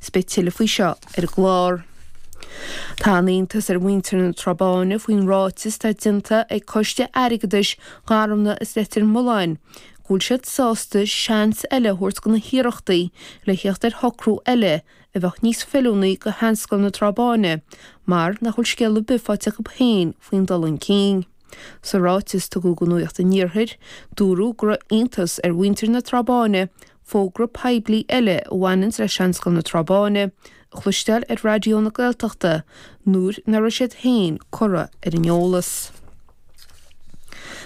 Is beidh tuilleadh faoi seo ar an gclár. Tá an-iontas ar mhuintir na Trá Báine faoin ráiteas atá déanta ag Coiste Airgeadais Gharmna is Leitir Mealláin go bhfuil siad sásta seans eile a thabhairt do na hiarrachtaí le theacht ar shocrú eile a bheadh níos feiliúnaí do Sheanscoil na Trá Báine mar nach bhfuil scéal ar bith faighte acu féin faoin dul chun cinn. Sa ráiteas a tugadh do Nuacht an Iarthair, dúradh go raibh iontas ar mhuintir na Trá Báine fógra poiblí eile a bhaineanns le Seanscoil na Trá Báine a chloisteáil ar Raidió na Gaeltachta nuair nach raibh siad féin curtha ar an eolas.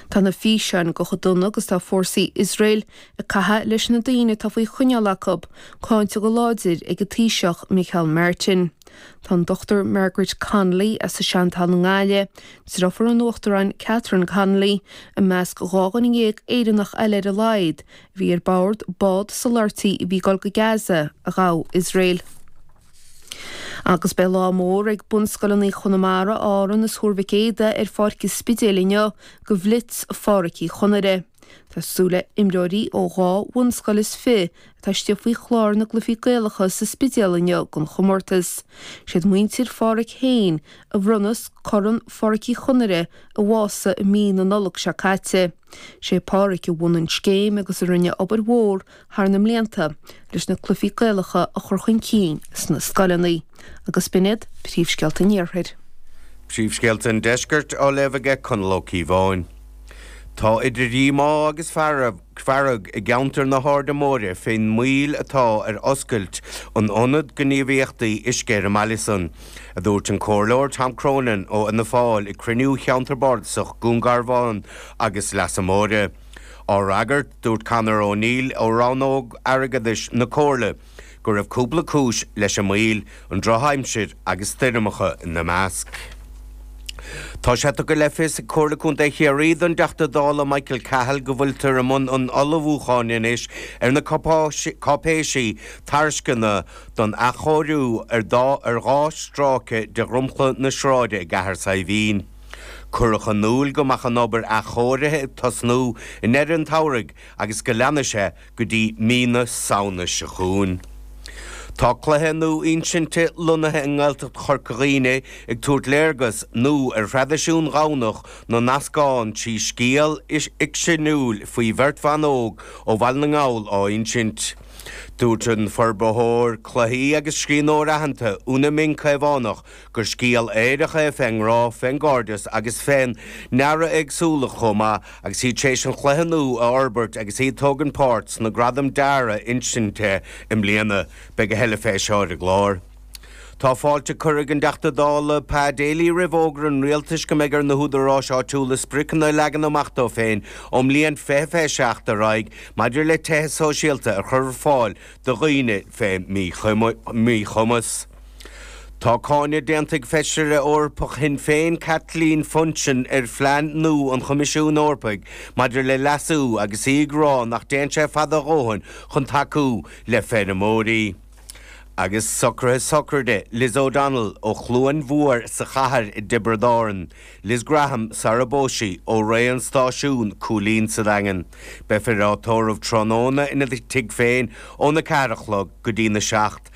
Tá na físeáin de chomh dona agus tá fórsaí Iosrael ag caitheamh leis na daoine atá faoi choinneáil acu cáinte go láidir ag an Taoiseach Micheál Martin. Tá an Dr Margaret Connolly as an Seantalamh i nGaillimh, deirfiúr an Uachtaráin Catherine Connolly, i measc 12 dhuine Éireannach eile ar a laghad a bhí ar bord bád soláthairtí a bhí ag dul go Gaza a ghabh Iosrael. Agus beidh lá mór ag bunscoileanna Chonamara, Árann is Thuar Mhic Éadaigh ar Pháirc an Spidéil inniu do Bhlitz Phádraic Uí Chonaire. Tá súil le imreoirí ó dhá bhunscoil is fi atá istigh faoi chlár na gcluichí Gaelacha sa Spidéal inniu don chomórtas. Siad muintir Pháraic féin a bhronnas Corn Phádraic Uí Chonaire a bhásaigh i mí na Nollag seo caite. Sé Páraic a bhunaigh an scéim agus a rinne obair mhór thar na mblianta leis na cluichí Gaelacha a chur chun cinn sna scoileanna. Agus b'in iad príomhscéalta an Iarthair. Príomhscéalta an Deiscirt á léamh aige Conall Ó Cíobháin. Tá idir dhíomá agus fearg i gceantar na hAirde Móire fén moill atá ar oscailt an Ionad Gníomhaíochtaí Uisce ar an mbaile san, a dúirt an Comhairleoir Tom Cronin ó Fhianna Fáil ag cruinniú Cheantar Bardasach Dhún Garbhán agus Leasa Móire. Á fhreagairt, dúirt Conor O'Neill ó Rannóg Airgeadais na Comhairle go raibh cúpla cúis leis an moill, an drochaimsir agus stoirmeacha ina measc. Tá sé tugtha le fios ag Comhairle Contae Chiarraí don dTeachta Dála Michael Cahill go bhfuiltear i mbun an ullmhúcháin anois ar na cáipéisí tairisceana don athchóiriú ar dhá stráice de dhromchla na sráide i gCathair Saidhbhín. Cuireadh in iúl go mbeadh an obair athchóirithe ag tosnú i ndeireadh an tsamhraidh agus go leanfaidh sé go dtí mí na Samhna seo chugainn. Tá cluiche nua insinte lonnaithe i nGaeltacht Chorca Dhuibhne ag tabhairt léargas nua ar thraidisiún Dhomhnach na nEascán trí scéal fhicseanúil faoi bheirt bhan óg ó Bhaile na nGall á insint. Dúirt an forbarthóir cluichí agus scríbhneoir aitheanta Úna Mín Caomhánach gur scéal aerach é fén ngrá, fén gcairdeas agus fén neireaéagsúlacht chomh maith agus iad tar éis an chluiche nua a fhorbairt agus iad ag tógaint páirt sna Gradaim Dearaidh Insinte i mbliana. Beidh a thuilleadh fé seo ar an gclár. Tá fáilte curtha ag an dTeachta Dála Pa Daly roimh fhógra an Rialtais go mbeidh ar na húdaráis áitiúla spriocanna a leagan amach dóibh féin ón mbliain 2027 ar aghaidh maidir le tithe sóisialta a chur ar fáil do dhaoine fé mhíchumas. Tá cáineadh déanta ag Feisire Eorpach Shinn Féin Kathleen Funchion ar phlean nua an Choimisiúin Eorpaigh maidir le leasú agus í ag rá nach dtéann sé fada a dhóthain chun tacú le feirmeoirí. Agus socruithe sochraide Liz O'Donnell ó Chluain Mhór sa Chathair i dTiobraid Árann. Liz Graham sara bpós sí, ó Rae an Stáisiún, Cúilín sa Daingean. Beifear á tórramh tráthnóna ina tigh féin óna 4 a chlog go dtí na 7.